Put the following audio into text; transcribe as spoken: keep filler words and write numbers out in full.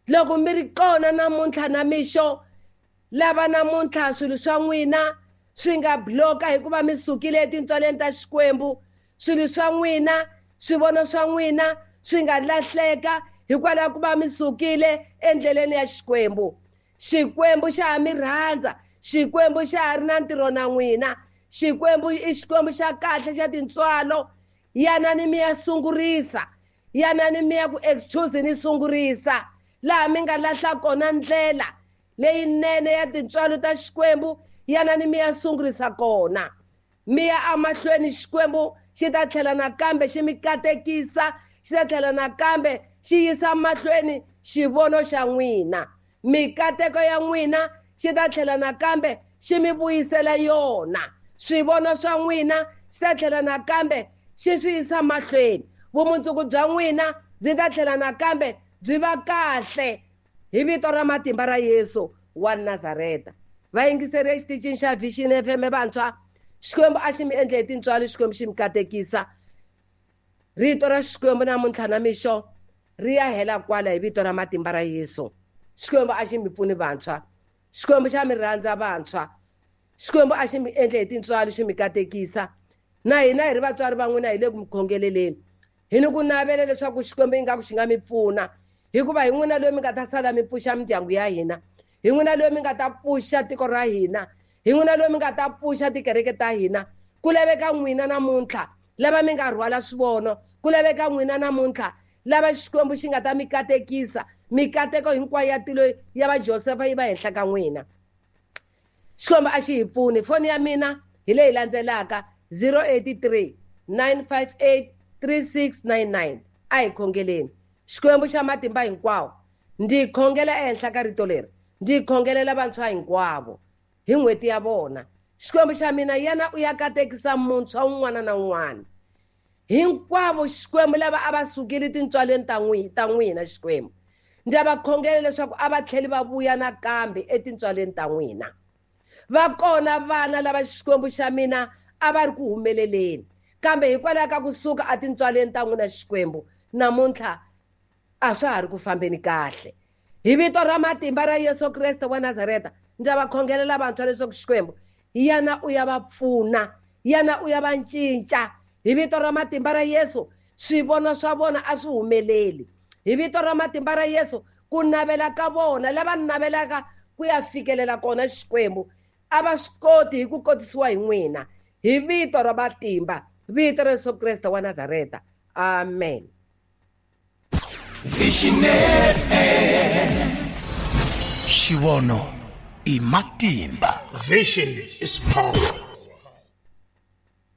Loko mi ri kona namuntlha na mixo, lava namuntlha swilo swa n'wina swi nga bloka hikuva mi sukile etintswaleni ta Xikwembu, swilo swa n'wina, swivono swa n'wina swi nga lahleka hikwalaho ku va mi sukile endleleni ya Xikwembu. Xikwembu xa ha mi rhandza, Xikwembu xa ha ri na ntirho na n'wina. Xikwembu i Xikwembu xa kahle xa tintswalo. Yanani mi ya sungurisa, yanani mi ya ku excuse ni sungurisa laha mi nga lahla kona ndlela leyinene ya tintswalo ta Xikwembu, yanani mi ya sungurisa kona. Mi ya emahlweni, Xikwembu xi ta tlhela nakambe xi mi katekisa, xi ta tlhela nakambe xi yisa mahlweni xivono xa n'wina. Mikateko ya n'wina xi ta tlhela nakambe xi mi vuyisela yona. Swivono swa n'wina xi ta tlhela nakambe xi swi yisa mahlweni. Vumundzuku bya n'wina byi ta tlhela nakambe byi va kahle hi vito ra matimba ra Yesu wa Nazareta. Vayingiseri exitichini xa Vision F M vantshwa, Xikwembu a xi mi endle hi tintswalo, Xikwembu xi mi katekisa. Rito ra Xikwembu namuntlha na mixo ri ya hela kwala hi vito ra matimba ra Yesu. Xikwembu a xi mi pfuni vantshwa, Xikwembu xa mi rhandza vantshwa, Xikwembu a xi mi endle hi tintswalo, xi mi katekisa. Na hina hi ri vatswari va n'wina hi le ku mi khongeleleni, hi ni ku navela leswaku Xikwembu ingaku xi nga mi pfuna, hikuva hi n'wina loyi mi nga ta sala mi pfuxa mindyangu ya hina, hi n'wina loyi mi nga ta pfuxa tiko ra hina, hi n'wina loyi mi nga ta pfuxa tikereke ta hina. Ku laveka n'wina namuntlha lava mi nga rhwala swivono, ku laveka n'wina namuntlha lava Xikwembu xi nga ta mi katekisa. Mikateko hinkwayo ya tilo ya va Josefa yi va henhla ka n'wina. Xikwembu a xi hi pfuni. Foni ya mina hi leyi landzelaka zero eight three nine five eight three six nine nine. A hi khongeleni. Xikwembu xa matimba hinkwawo, ndzi khongela ehenhla ka rito leri, ndzi khongelela vantshwa hinkwavo hi n'hweti ya vona. Xikwembu xa mina, yena u ya katekisa muntshwa un'wana na un'wana hinkwavo. Xikwembu lava a va sukile tintswaleni ta n'wi ta n'wina, Xikwembu ndzi va khongela leswaku a va tlheli va vuya nakambe etintswaleni ta n'wina. Va kona vana lava Xikwembu xa mina a va ri ku humeleleni, kambe hikwalaho ka kusuka etintswaleni ta n'wina Xikwembu, namuntlha a swa ha ri ku fambeni kahle. Hi vito ra matimba ra Yesu Kreste wa Nazareta, ndzi va khongelela vantshwa leswaku Xikwembu yana u ya va pfuna, yana u ya va cinca. Hi vito ra matimba ra Yesu, swivono swa vona a swi humeleli. Hi vito ra matimba ra Yesu, ku navela ka vona lava navelaka ku ya fikelela kona Xikwembu a va swi koti hi ku kotisiwa hi n'wina. Hi vito ra matimba, vito ra Yesu Kreste wa Nazareta, amen. Vision F M. Xivono i matimba. Vision is power.